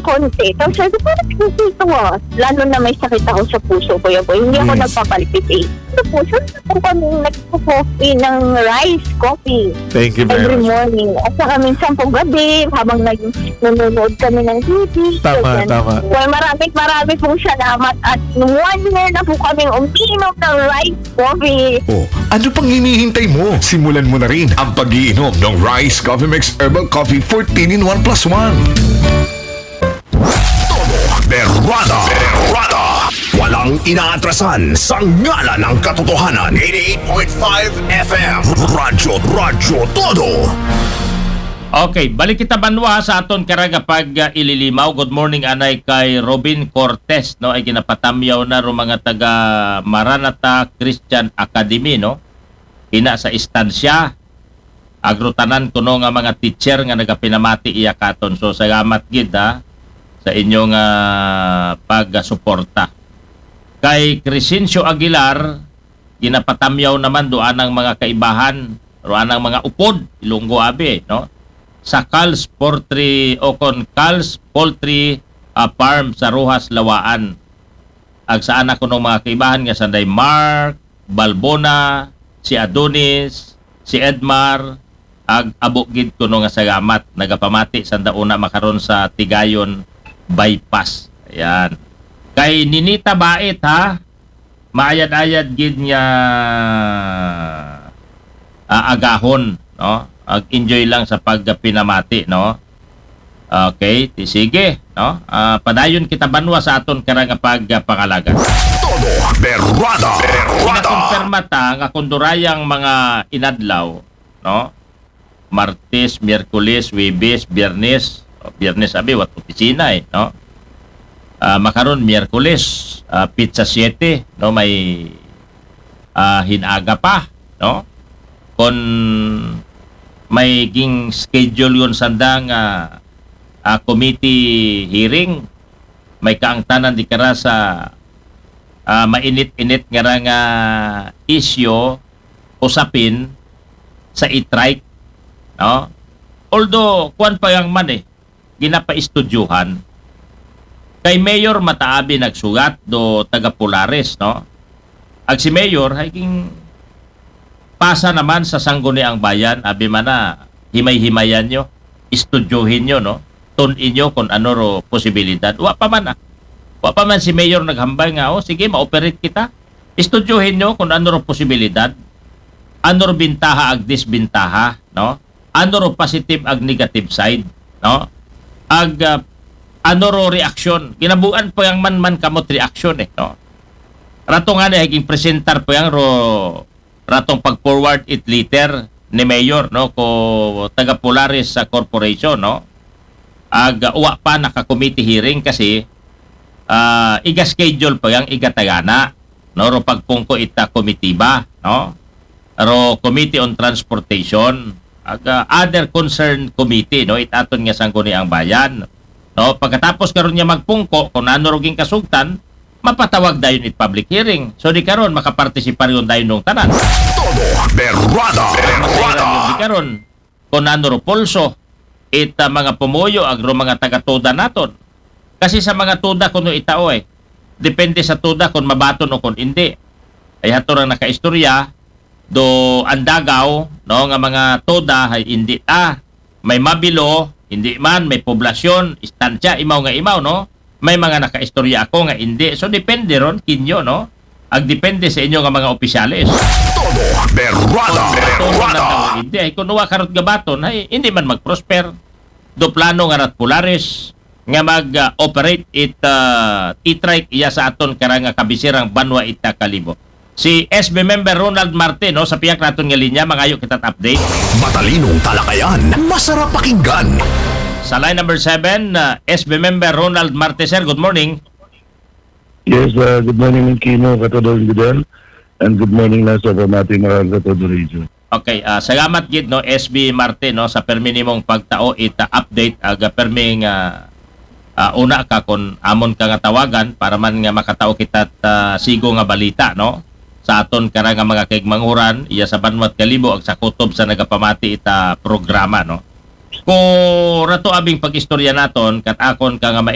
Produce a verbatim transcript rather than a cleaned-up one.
konti. Tapos sabi ko, "Parang hindi ito, ah." Lalo na may sakit ako sa puso, Kuya Boy. Hindi ako Yes. nagpapalpitate. Sa puso, po kami nagpo-coffee ng rice coffee Thank you very every much. morning. At saka minsan po gabi, habang nag-, nanonood kami ng T V. Tama, Ganyan. tama. Well, maraming, maraming pong salamat. At one year na po kaming umiinom ng rice coffee. Oh, ano pang hinihintay mo? Simulan mo na rin ang pag-iinom ng Rice Coffee Mix Herbal Coffee fourteen in one plus one. Todo Berrada. Berrada. Walang inaatrasan sa ngalan ng katotohanan. Eighty-eight point five F M. Radyo, Radyo Todo. Okay, balik kita banwa sa aton karag pag, uh, ililimaw. Good morning, anay kay Robin Cortez, no? Ay ginapatamyaw na ro mga taga Maranatha Christian Academy, no? Ina sa istansya, agrutanan kuno nga mga teacher nga nagapinamati iya katon. So, salamat gid, ha, sa inyong, ah, pagsuporta. Kay Crescencio Aguilar, ginapatamyaw naman do anang mga kaibahan, ro anang mga upod, Ilonggo abi, no? Sa Cal's Poultry o kon Cal's Poultry, ah, Farm sa Roxas, Lawaan. Ag sa anak ko nung mga kaibahan nga sanday Mark, Balbona, si Adonis, si Edmar, ag abo gid kuno nga salamat. Nagapamati sanda una makaron sa Tigayon Bypass. Ayan. Kay Ninita Bait, ha, maayad-ayad gid nga, ah, agahon, no? Ag enjoy lang sa pagpinamati, no? Okay, ti sige, no? Ah, padayon kita banwa sa aton karang pagpangalaga. Todo Berrada. Berrada. Ginakumpirma ta nga kundurayang mga inadlaw, no? Martes, Miyerkules, Huwebes, Biyernes. O, Biyernes abi, wat opisina, eh, no? Ah, makaron, Miyerkules, ah, pitsa siete, no? May, ah, hinaga pa, no? Kon may ging schedule yon sanda nga, ah, committee hearing, may kaangtanan di kara sa, ah, mainit-init nga ra nga isyu, usapin sa e-trike, no? Although, kuwan pa yang man, eh, ginapaistudyohan. Kay Mayor Mataabi nagsugat do taga Polaris, no? Ag si Mayor, hay ging pasa naman sa Sangguniang Bayan, abi man na, himay-himayan nyo, istudyohin nyo, no? Tun-in nyo kung ano ro posibilidad. Wa pa man, ah. Wa pa man si Mayor naghambal nga, "Oh, sige, ma-operate kita." Istudyohin nyo kung ano ro posibilidad, ano ro bintaha ag disbintaha, no? Ano ro positive ag negative side, no? Ag, ah, ano ro reaksyon? Ginabuan pa yang man, man kamot reaksyon, eh, no? Rato nga ni, haging presentar pa yang ro, ratong pag-forward it letter ni Mayor, no, ko taga Polaris sa corporation, no? Ag, uh, wa pa naka-committee hearing kasi, ah, iga-schedule pa yang igatagana, no, ro pagpungko ita komitiba, no? Ro Committee on Transportation, ag, uh, other concerned committee, no, it aton nga Sangguniang Bayan, no? Pagkatapos karon niya magpungko, kung ano ro ging kasugtan, mapatawag dayon it public hearing. So, di karon, makapartisipar yun dayon nung tanan. Todo Berrada. Berrada. Di karon, kung ano ro pulso, it, ah, mga pumuyo, agro mga taga-tuda naton. Kasi sa mga tuda, kuno itao, eh. Depende sa tuda kung mabaton o kung hindi. Ay, hato ra nakaistorya, do andagaw, no, nga mga tuda, ay hindi ta. May mabilo, hindi man, may poblasyon, istansya, imaw nga imaw, no? May mga nakaistorya ako nga hindi. So, depende ron kinyo, no? Ag depende sa inyo nga mga opisyales. Todo Berrada. Kung matuno na Berrada. Daw hindi, ay kung wa karot gabaton, ay hindi man mag-prosper. Do plano nga rat Polaris nga mag, ah, operate it, ah, e-trike iya sa aton karang nga kabisirang banwa ita Kalibo. Si S B member Ronald Marte, no, sa pihak naton nga linya, mangayo kita update. Matalinong talakayan, masarap pakinggan. Sa line number seven, uh, S B member Ronald Marte, sir, good morning. Yes, uh, good morning, Kino, Katodong Gudel, and good morning na sa pamati mga Katodo Radio. Okay, uh, salamat gid, no, S B Marte, no, sa permi nimong pagtao ita update, aga permi nga ah, una ka kon amon ka nga tawagan para man nga makatao kita ta sigo nga balita, no? Sa aton kara nga mga kaigmanguran, iya sa banwat Kalibo ag sa kutob sa nagapamati ita programa, no? Ko rato abing pag-istorya naton, kat akon ka nga ma-